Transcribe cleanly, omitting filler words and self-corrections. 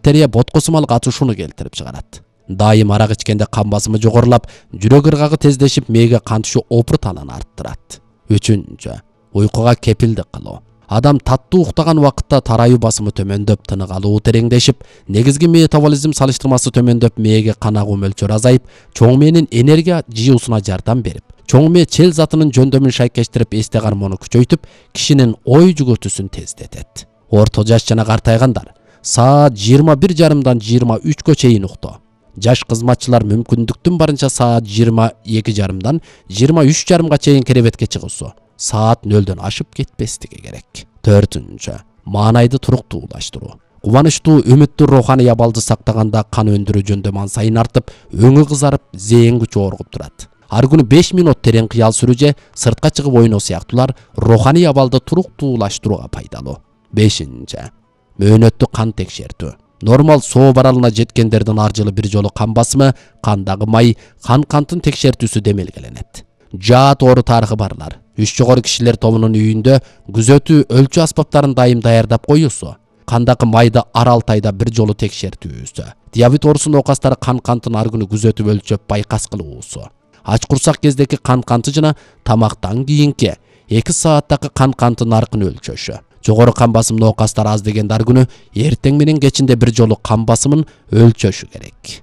бактерия боткосумал катышууну келтирип чыгарат. Дайым арак ичкенде кан басымы жогорулап, жүрөк ыргагы тездешип, мээге кан түшүү опуртанын арттырат. 3. Уйкуга кепилдик кылуу. Адам таттуу уктаган убакытта тарайуу басымы төмөндөп, тынык алуу тереңдешип, негизги метаболизм салыштырмасы төмөндөп, мээге кан агуу мөлчөрү азайып, чоң мээнин энергия жыюусуна жардам берип, чоң мээ чел затынын жөндөмүн шайкештирип, эсте кармоону күчөйтүп, кишинин ой жүгүртүүсүн тездетет. Орто жаш жана картайгандар саат 21:30-дан 23-кө чейин уктоо. Жаш кызматчылар мүмкүндүктүн барынча саат 22:30-дан 23:30 чейин керебетке чыгуусу, саат 0-дөн ашып кетпестиги керек. 4. Маанайды туруктуулаштыруу. Кубанычтуу, үмүттүү руханий абалды сактаганда кан өндүрүү жөндөмү ан сайын артып, өңү кызарып, зээн күчү оргуп турат. Ар күнү 5 минут терең кыял сүрүү же сыртка чыгып ойноо сыяктуулар руханий абалды туруктуулаштырууга пайдалуу. 5. Мөөнөттүү кан текшертүү. Нормал соо баралына жеткендердин ар жылы бир жолу кан басымы, кандагы май, кантын текшертүүсү демелгеленет. Жаат оору тарыхы барлар. 3 жогору кишилер тобунун үйүндө күзөтүү өлчү аспаптарын дайым даярдап коюусу, кандагы майды ар 6 айда бир жолу текшертүүсү, диабет оорусу оокастары кантын ар күнү күзөтүп өлчөп байкас кылуусу, ач курсак кездеги канты жана тамактан кийинки 2 сааттагы кантын наркын өлчөшү. Жогору кан басым оокастар аз дегенде ар күнү эртең менен кечинде бир жолу кан басымын өлчөшү керек.